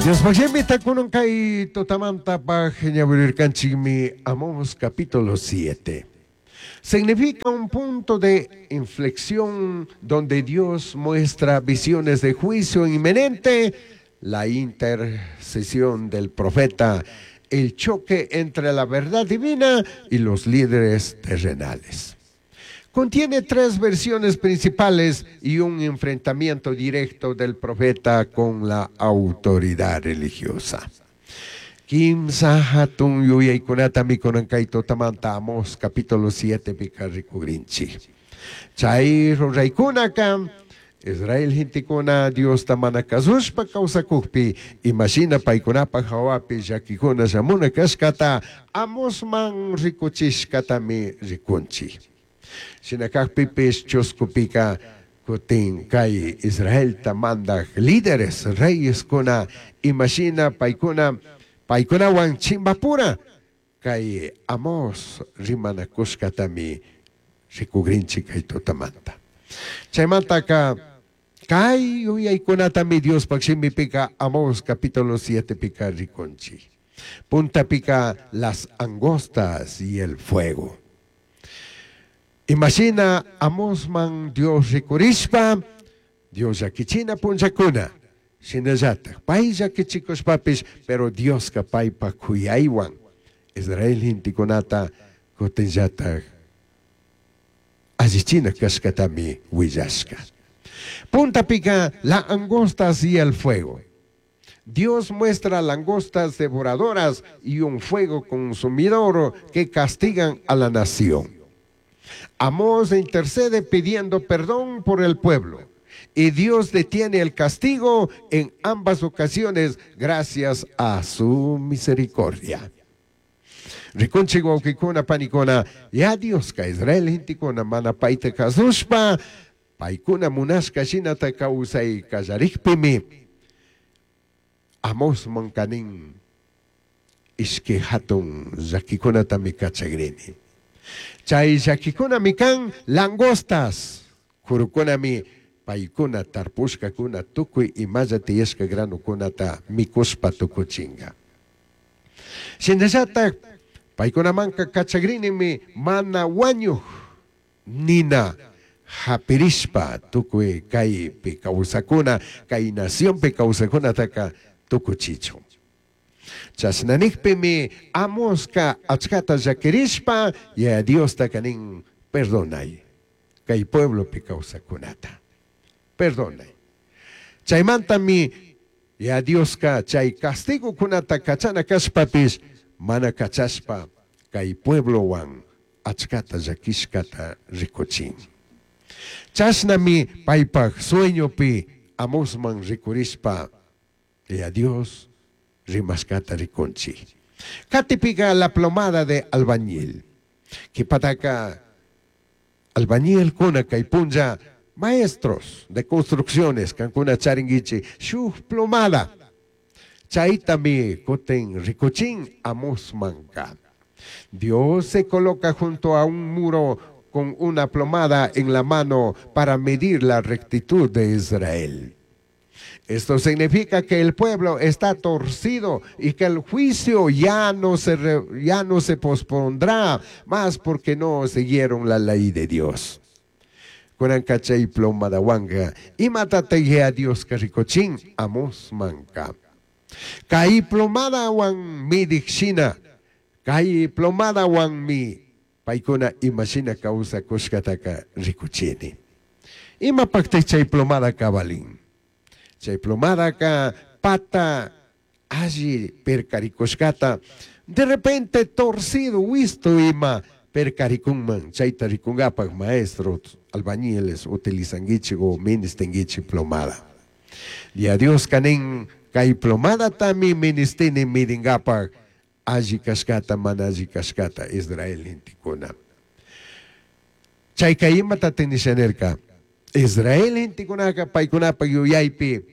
Diospaj shimita kunan kay tutamantapaj ñawirirkanchikmi Amós capítulo 7. Significa un punto de inflexión donde Dios muestra visiones de juicio inminente, la intercesión del profeta, el choque entre la verdad divina y los líderes terrenales. Contiene tres versiones principales y un enfrentamiento directo del profeta con la autoridad religiosa. Kimsa hatun yuyaykunatami kunan kay tutamanta Amós capítulo 7 pika rikugrinchik. Chay ruraykunaka Israel gentekuna Diosta mana kazushpa kawsakukpi imashina paykunapaj hawapi llakikuna shamuna kashkata Amosman rikuchishkatami rikunchik. Shina kakpipish chuskupika kutin kay Israelta mandaj líderes reyeskuna imashina paykuna paykunawan chimbapura kay Amós rimanakushkatami rikugrinchik kay tutamanta. Chaymantaka kay yuyaykunatami Diospaj shimipika Amós capítulo 7 pika rikunchik. Puntapika las angostas y el fuego. Imashina Amosman Dios rikurishpa Dios llakichina punllakuna shinallataj pay llakichikushpapish pero Dioska paypaj kuyaywan Israel gentekunata kutinllataj allichina kashkatami willashka. Puntapika la angostas y el fuego. Dios muestra langostas devoradoras y un fuego consumidor que castigan a la nación. Amós intercede pidiendo perdón por el pueblo y Dios detiene el castigo en ambas ocasiones gracias a su misericordia. Rikunchik wawkikuna panikuna ya Dioska Israel gentekuna mana payta kasushpa paykuna munashka shinata kawsay kallarikpimi Amosman kanin ishki hatun llakikunatami kachagrini. Chay llakikunami kan langostas, kurukunami paykuna tarpushkakuna tukuy imalla tiyashka granukunata mikushpa tukuchinga. Shinallatak paykunamanka kachagrinimi mana wañuj nina hapirishpa tukuy kaypi kawsakuna kay nacionpi kawsakunataka tukuchichun. Chashna nikpimi Amoska achkata llakirishpa Yaya Diostaka nin perdonay kay pueblopi kawsakunata. Perdonay. Chaymantami Yaya Dioska chay castigokunata kachana kashpapish mana kachashpa kay pueblowan achkata llakishkata rikuchin. Chashnami paypaj sueñopi Amosman rikurishpa Yaya Dios rimashkata rikunchik. Katipika la plomada de albañil. Kipataka albañilkuna kay punlla maestros de construcciones kankuna charinguichi shuk plomada. Chaytami kutin rikuchin Amosmanka. Dios se coloca junto a un muro con una plomada en la mano para medir la rectitud de Israel. Esto significa que el pueblo está torcido y que el juicio ya no se pospondrá más porque no siguieron la ley de Dios. Kunanka chay plomadawanka imatataq Yaya Dioska rikuchin Amosmanka. Kay plomadawan midik shina, kay plomadawanmi paykuna imashina kawsakushkataka rikuchini. Imapaqtaq chay plomadaka valin? Chay plomadaka pata alli perkarikushkata de repente torcido wisto ima perkarikunman chayta rikungapak maestros albañiles utilizanguichik o ministinguichik plomada. Yaya Dioska nin kay plomadatami ministini midingapak alli kashkata mana alli kashkata Israel gentekuna. Chayka imatatik nisha nirka? Israel gentekunaka paykunapak yuyaypi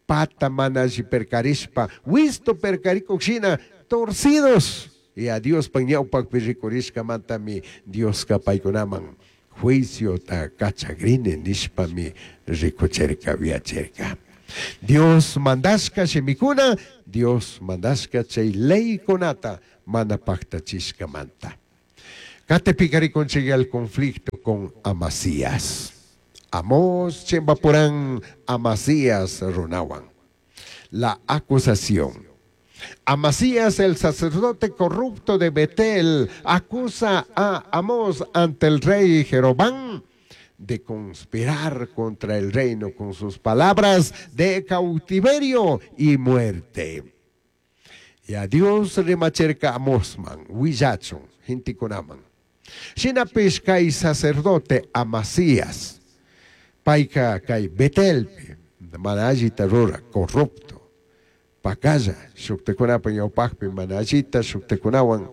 pata mana alli perkarishpa wisto perkarikuk shina torcidos Yaya Diospaj ñawpakpi rikurishkamantami Dioska paykunaman juiciota kachagrini nishpami rikuchirka, viachirka. Dios mandashka shimikuna, Dios mandashka chay leykunata mana pactachishkamanta. Qatipiqa rikunchik el conflicto con Amasías. Amós chimpapuran Amasías runawan. La acusación. Amasías, el sacerdote corrupto de Betel, acusa a Amós ante el rey Jeroboam de conspirar contra el reino con sus palabras de cautiverio y muerte. Y a Dios rimacherca Amosman, huillachun, gentekunaman. Shinapish kay sacerdote Amasías, payka kay Betelpi, mana allita rura, corrupto, pacalla, shuktikunapa ñawpakpi mana allita, shukhtikunawan,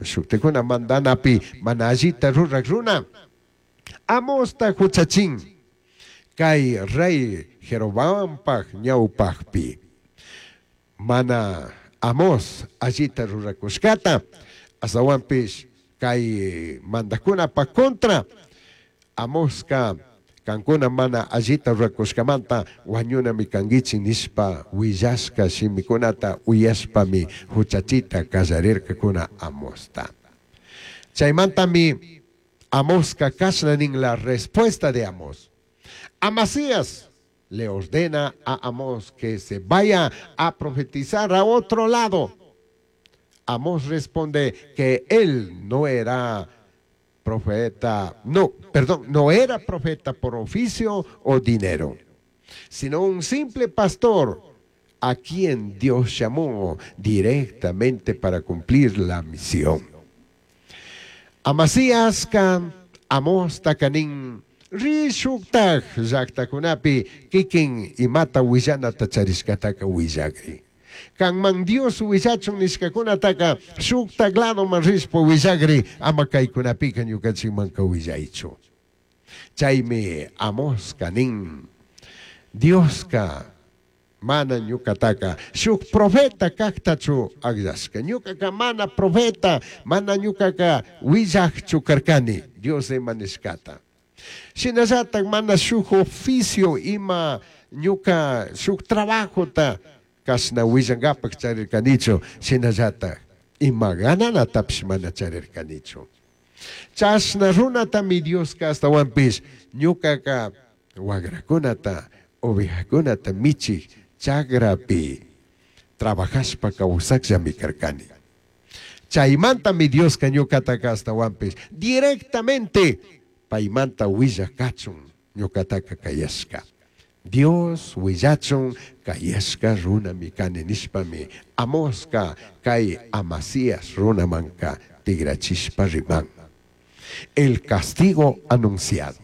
shuktikuna mandanapi mana allita rurak runa, Amosta huchachin, kay rey Jeroboampaj ñawpakpi. Mana Amos allita rurakushkata, astawanpish kay mandakunapa contra, Amoska kankuna mana allita rurakushkamanta wañunami kankichik nishpa willashka shimikunata uyashpami huchachita kallarirkakuna Amosta. Chaymantami Amoska kashna nin la respuesta de Amos. Amasías le ordena a Amós que se vaya a profetizar a otro lado. Amós responde que él no era profeta, no, perdón, no era profeta por oficio o dinero, sino un simple pastor a quien Dios llamó directamente para cumplir la misión. Amasíasca Amosta nin ri shuktaj llaktakunapi kikin imata willanata charishkataka willakri. Kanman Dios willachun nishkakunataka shuktak ladoman rishpa willakri ama kaykunapika ñukanchikmanka willaychu. Chaymi Amoska nin Dioska mana ñukataka shuk profeta kaktachu akllashka. Ñukaka mana profeta, mana ñukaka willakchu karkani Dios ima nishkata. Shinallatak mana shuk oficio ima ñuka shuk trabajota kashna willankapak charirkanichu, shinallatak ima gananatapish mana charirkanichu. Chashna runatami Dioska astawanpish ñukaka wagrakunata, ovejakunata michik chagrapi trabajashpa kawsakllami karkani. Chaymantami Dioska ñukataka astawanpish directamente paymanta willak kachun ñukataka kayashka. Dios willachun kayashka runami kani nishpami Amoska kay Amasías runamanka tigrachishpa riman. El castigo anunciado.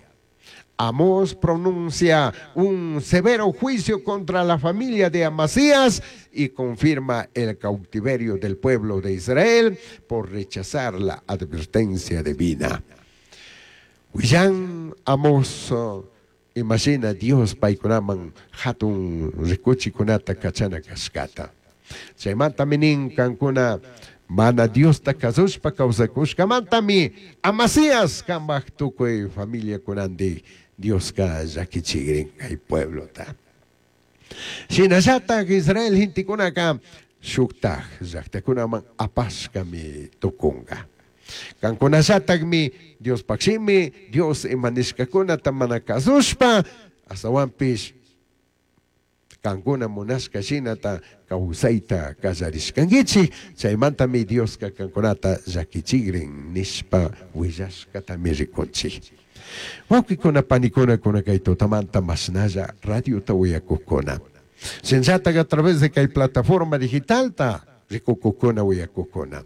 Amós pronuncia un severo juicio contra la familia de Amasías y confirma el cautiverio del pueblo de Israel por rechazar la advertencia divina. Willan Amós, imagina Dios paykunaman hatun rikuchikunata kachana kashkata. Chaymantami nin kankuna mana Diosta kasushpa kawsakushkamantami Amasías kambaj tukuy familiakunandik Dioska llakichikrin kay pueblota. Shinallatak Israel gentekunaka shuktaj llaktakunaman apashkami tukunka. Kankunallatakmi Diospaj shimi, Dios ima nishkakunata mana kasushpa, astawanpish kankuna munashka shinata kawsayta kallarishkankichik, chaymantami Dioska kankunata llakichikrin nishpa willashkatami rikunchik. Wawqikuna panikuna kuna kay tutamanta mashnalla radiota uyakukuna. Shinallatak a través de kay plataforma digitalta rikukukuna uyakukuna.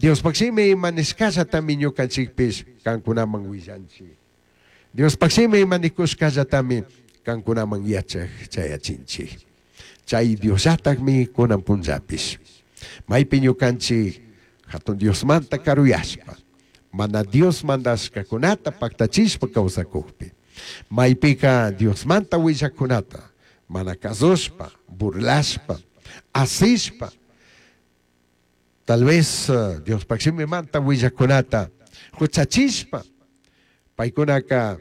Diospaj shimi ima nishkallatami ñukanchikpish kankunaman willanchik. Diospaj shimi ima nikushkallatami kankunaman yachak chayachinchik. Chay Diosllatakmi kunan punllapish. Maypi ñukanchik hatun Diosmanta karuyashpa, mana Dios mandashkakunata paktachishpa kawsakukpi. Maypika Diosmanta willakunata mana kasushpa, burlashpa, asishpa, tal vez Diospaj shimimanta willakunata huchachishpa, paykunaka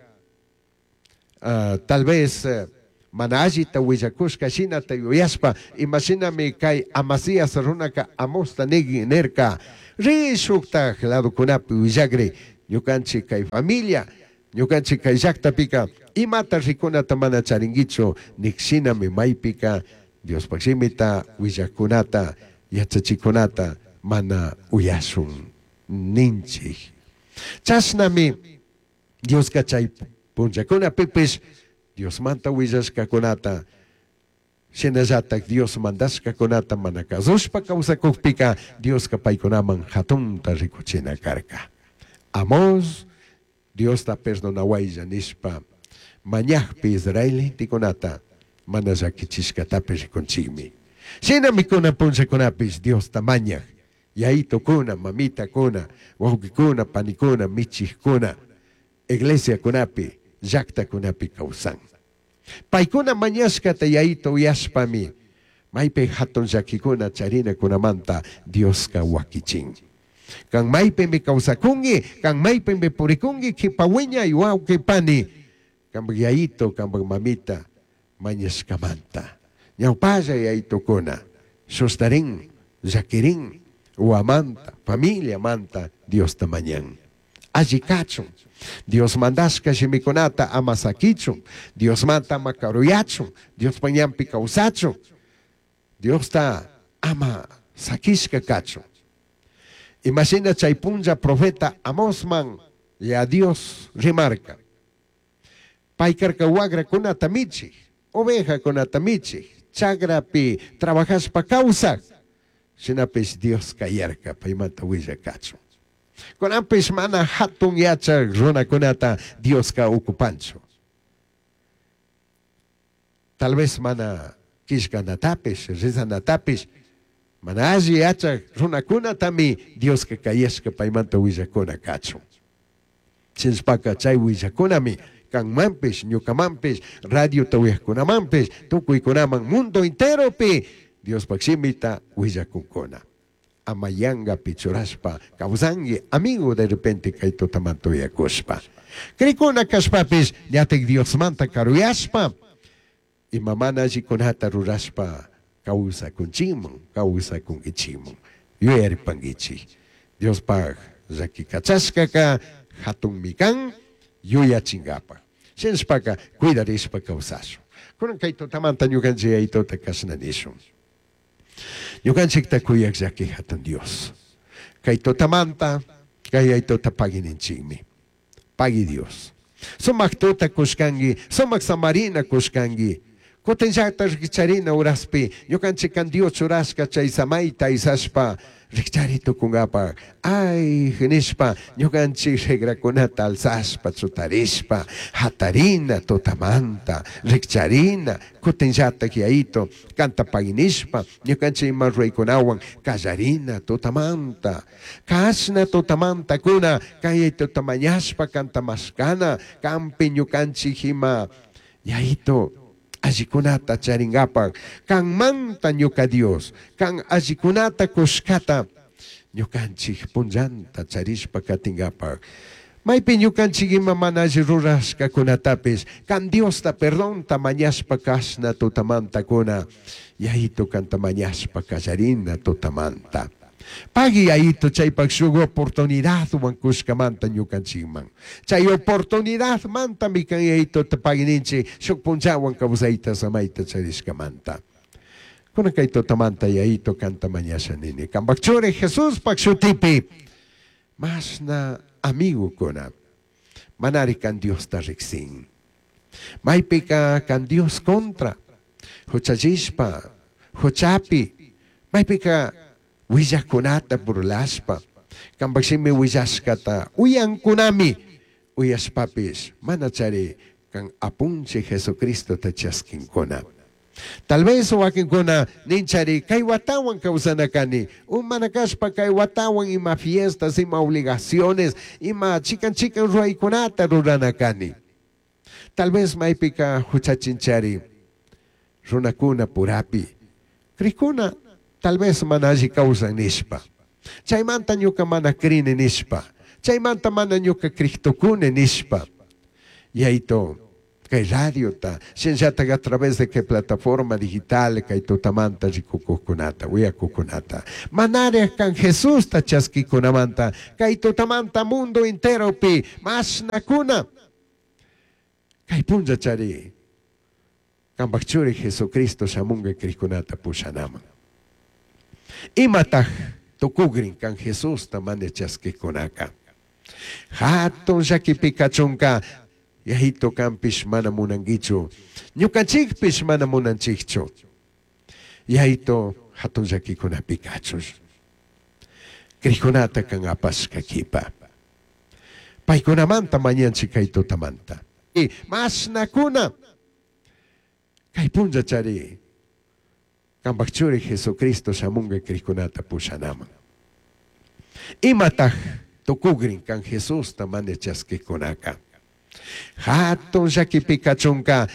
tal vez Mana allita huillacushca shinata yuyashpa, ima shinami cai Amasías runaca Amosta nirca, Ri shujtaj ladocunapi huillagri, ñucanchij cai familia, ñucanchij cai llajtapica imata ricunata mana charinguichu nij shinami maipica Diospaj shimita huillajcunata, yachachijcunata mana uyashun ninchij. Chashnami Diosca chai punllacunapipish Diosmanta huillashcacunata, shinallataj Dios mandashcacunata mana cazushpa causacujpica Diosca paicunaman jatunta ricuchina carca. Amós Diosta perdonahuailla nishpa mañajpi Israel gentecunata mana llaquichishcatapish ricunchijmi. Shinami cunan punllacunapish Diosta mañaj yayitocuna, mamitacuna, huauquicuna, panicuna, michijcuna, iglesiacunapi, llajtacunapi causan. Paicuna mañashcata yayito uyashpami maipi jatun llaquicuna charinacunamanta Diosca huaquichin. Can maipimi causacungui, can maipimi puricungui, quipa huiñai huauqui pani, cambaj yayito, cambaj mamita mañashcamanta. Ñaupalla yayitocuna, sustarin, llaquirin, uamanta, familiamanta Diosta mañan. Alli cachun, Dios mandashca shimicunata ama saquichun, Diosmanta ama caruyachun, Diospaj ñanpi causachun, Diosta ama saquishca cachun. Imashina chay punlla profeta Amosman ya Dios rimarca. Pai carca huagracunata michij, ovejacunata michij, chagrapi trabajashpa causaj. Shinapish Dios cayarca paimanta huillacachun. Cunanpish mana jatun yachaj runacunata Diosca ocupanchu. Tal vez mana quillcanatapish, rezanatapish, mana alli yachaj runacunatami Diosca cayashca paimanta huillacuna cachun. Chinshpaca chay huillacunami canmanpish, ñucamanpish, radiota uyajcunamanpish, tucuicunaman mundo enteropi Diospaj shimita huillacuncuna. Ama yangapi churashpa causangui, amigo, de repente cay tutamanta uyacushpa. Cricuna cashpapish ñataj Diosmanta caruyashpa, ima mana allicunata rurashpa causacunchikman, causacunguichikman. Yuyaripanguichik. Diospaj llaqui cachashcaca jatunmi can yuyachingapaj. Shinashpaca cuidarishpa causashun. Cunan cay tutamanta ñucanchik yayituta cashna nishun. Ñucanchikta cuyaj llaqui jatun Dios. Cay tutamanta cay yayituta pagui ninchikmi. Pagui Dios. Sumak tuta cushcangui, sumak samarina cushcangui. Cutin llakta rikcharina uraspi, ñukanchik kan Dios churashka chay samaita aysashpa rikchari tukunkapaj. Ay, nishpa, ñukanchik regrakunata alzashpa, chutarishpa, hatarina tutamanta, rikcharina, kutin llatak yayito, kanta paginishpa, ñukanchik ima ruraykunawan kallarina tutamanta. Kashna tutamanta kuna, kay yayituta mañashpa kanta mashkana, kampi ñukanchik ima yayito allikunata charinkapak, kanmanta ñuka Dios, kan allikunata kushkata ñukanchik punllanta charishpa katinkapak. Maypi ñukanchik ima mana alli rurashkakunatapish, kan Diosta perdonta mañashpa kashna tutamanta kuna, yayito kanta mañashpa kallarina tutamanta. Pagui yayito chaypak shuk oportunidadwan kushkamanta ñukanchikman. Chay oportunidadmantami kan yayitota paguininchik shuk punllawan kawsayta samayta charishkamanta. Kunan kay tutamanta yayito kanta mañasha nini. Kampak churi Jesuspak shutipi mashna amigokuna manari kan Diosta riksin. Maypika kan Dios contra huchallishpa, huchapi, maypika huillakunata burlashpa, kampak shimi huillashkata uyankunami uyashpapish mana chari kan apunchik Jesucristota chaskinkuna. Tal vez wakinkuna ninchari kay watawan kawsana kani, o mana kashpa kay watawan ima fiestas, ima obligaciones, ima chikan chikan ruraykunata rurana kani. Tal vez maypika huchachinchari runakuna purapi, krikuna tal vez mana alli kawsan nishpa. Chaymanta ñuka mana krini nishpa. Chaymanta mana ñuka Cristokuni nishpa. Yayito, Kay radiota, shinllatak a través de kay plataforma digital kay tutamanta rikukuqkunata, uyakuqkunata. Manaraj kan Jesusta chaskikunamanta, kay tutamanta mundo enteropi mashnakuna. Kay punllachari, kambaj churi Jesucristo shamunga krikunata pushanaman. Imataj tukugrin kan Jesusta mana chaskikunaka. Hatun llakipi kachunka, yayito kanpish mana munankichu, ñukanchikpish mana munanchikchu. Yayito hatun llakikunapi kachun. Krikunata kan apashka kipa. Paykunamanta mañanchik kay tutamanta. Mashnakuna kay punllachari, kambaj churi Jesucristo shamunga krikunata pushanaman. Imataj tukugrin kan Jesusta mana chaskikunaka. Hatun llakipi kachunka,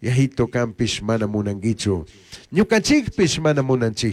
yayito kanpish mana munankichu, ñukanchikpish mana munanchikchu.